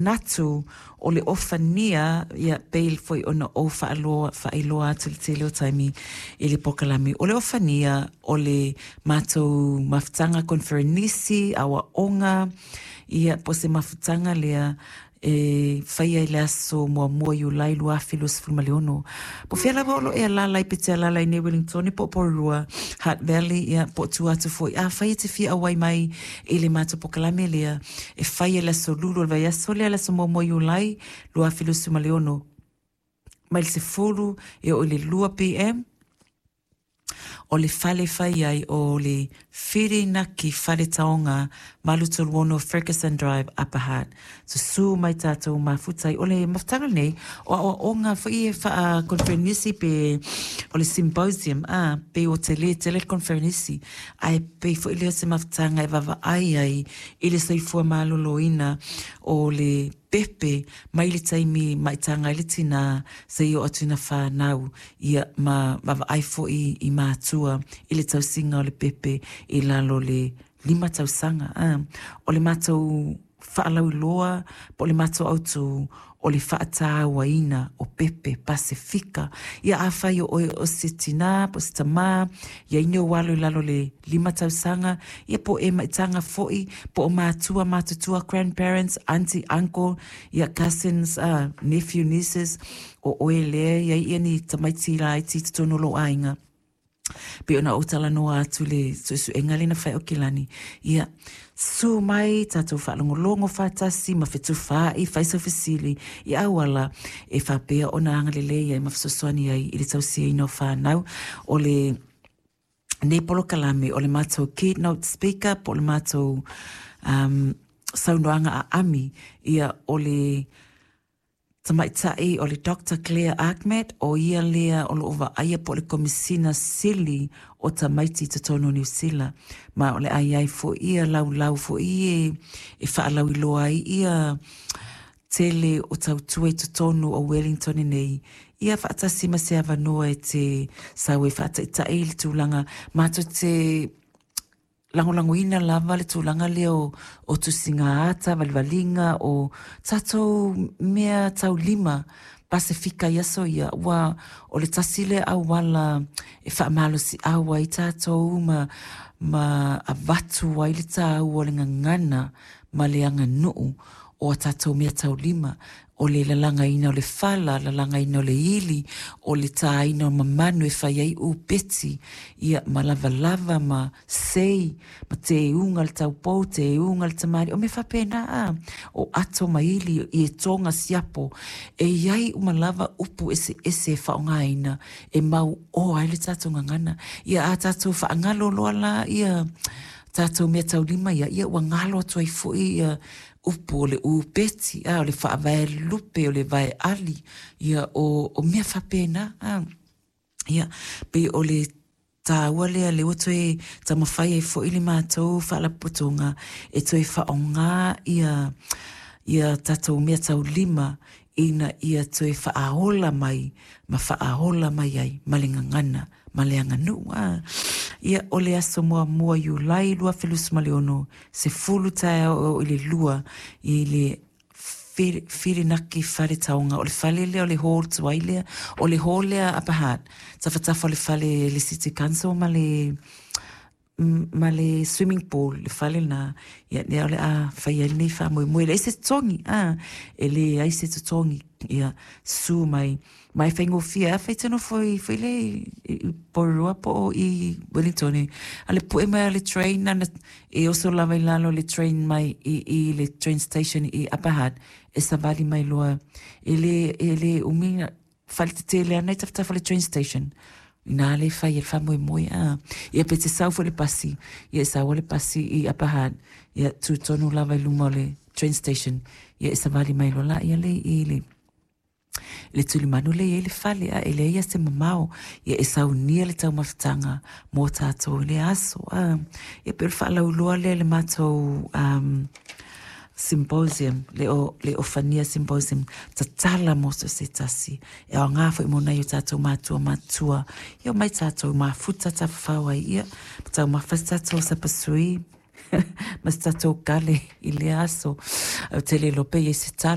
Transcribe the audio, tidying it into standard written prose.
Manatu o le ofania, ia, pei foi ona ou faaloa, faailoa atu i le tele o taimi i le polokalame, o le ofania o le matou mafutaga koneferenisi, aoaoga, ia, po o se mafutaga lea e faia i le aso muamua Iulai 2026. Po o fea lava o lo o e alaala ai pe te alaala i nei Wellingtone po o Porirua, Hutt Valley, ia, po o tua atu foi. Afai e te fia auai mai i le matou polokalame lea, e fai e le aso Lulu o le vaiaso lea, le aso muamua Iulai 2026, mai le 10 e oo i le 2 PM. O le fale e fai ai o le Whirinaki Fale Taonga 836 Fergusson Drive, Upper Hutt. Susū mai tātou mafuta ai. O le mafutaga lenei, o aoaoga foi e faa-conferenisi pe o le symposium, a, pei ua tele tele le conferenisi, ae pei foi lea o se mafutaga e vaavaai ai i le soifua maloloina o le pepe mai le taimi maitaga ai le tinā seia oo atu ina fanau, ia, ma vaavaai foi i matua i le tausiga o le pepe i lalo o le 5 tausaga. A, o le matou faalauiloa po o le matou autū, o le faatauaina o pepe Pasefika. Ia afai o oe o se tinā po o se tamā, i ai ni ou alo i lalo o le 5 tausaga, ia po o e maitaga foi, po o matua matutua, grandparents, aunty, uncle, ia cousins, nephew, nieces, o oe lea e i ai ia ni tamaiti laiti i totonu o lou aiga. Pei ona ou talanoa atu i le suesuega lea na fai Aukilani, ia, susu mai tatou faalogologo faatasi ma fetufaai, fai sau fesili i auala e faapea ona agalelei ai ma fesoasoani ai i le tausiaina o fanau. O le nei polokalame, o le matou keynote speaker po o le matou um, saunoaga aami, ia, o le Tamaitai o le Doctor Claire Achmat, o ia lea o lo o vaaia po o le Komisina Sili o Tamaiti i totonu o Niu Sila, ma o le a i ai foi ia laulau foi e e faalauiloa ai ia tele o tautua i totonu o Wellington nei, ia faatasi ma se avanoa e te sau e faataitai i le tulaga matou te lagolagoina lava le tulaga lea o, o tusiga ata, valivaliga, o tatou mea taulima Pasefika i aso ia, ua o le tasi lea auala e faamalosiau ai tatou ma, ma avatu ai le taua o le gagana ma le aganuu o a tatou mea taulima, o le lalagaina o le fala, lalagaina o le ili, o le tāina o mamanu e fai ai upeti, ia, ma lavalava ma sei, ma tēuga le taupou, tēuga le tamalii, o mea faapena, a, o ato ma ili, i e toga siapo, e i ai uma lava upu eseese e faaaogaina e mauoa ai le tatou gagana. Ia, a tatou faagalo loa la ia tatou mea taulima ia, ia ua galo atu ai foi ia upu o le upeti, a, o le faavae lupe, o le vae ali, ia, o, o mea faapena, a. Ia, pei o le tāua lea, lea ua toe taumafai ai foi le matou faalapotopotoga e toe faaaoga ia, ia tatou mea taulima ina ia toe faaola mai ma faaola mai ai ma le gagana ma le aganuu. A, ia, o le aso muamua Iulai 2026, 10 taeao e oo i le 2 i le Whirinaki Whare Taonga, o le fale lea o le hall tuai lea, o le hall lea Upper Hutt, tafatafa o le fale le City Council ma le ma le swimming pool, le fale lena, ia lea o le a fai ai lenei faamoemoe. E leai se totogi, a, e leai se totogi, ia, susu mai, ma e faigofie, afai e te nofo i, foi lea i Porirua po o i Wellington, a le pue mai o le train, na e oso lava i lalo le train mai i, i le train station i Upper Hutt, e savali mai loa, e le, e le umi, fale tetele ana i tafatafa o le train station. Inā le fai e le faamoemoe, a. Ia pe te sau foi le pasi, ia e sau le pasi i Upper Hutt, ia tū tonu lava i luma o le train station, ia e savali mai loa la ia le i le le tulimanu lea i ai le fale, a e leai lava se mamao, ia e saunia le taumafataga mō tātou i le aso. A, ia pei o le faalauiloa lea i le matou um, symposium, le o, le Ofania Symposium, tatala mō so se tasi. E aoga foi mō nai o tātou mātua matua. Ia omai tātou mafuta tafafao ai, ia, taumafa se tātou sapasui. Ma se tatou kale i lea aso. Ae ou te le iloa pe i ai se tala.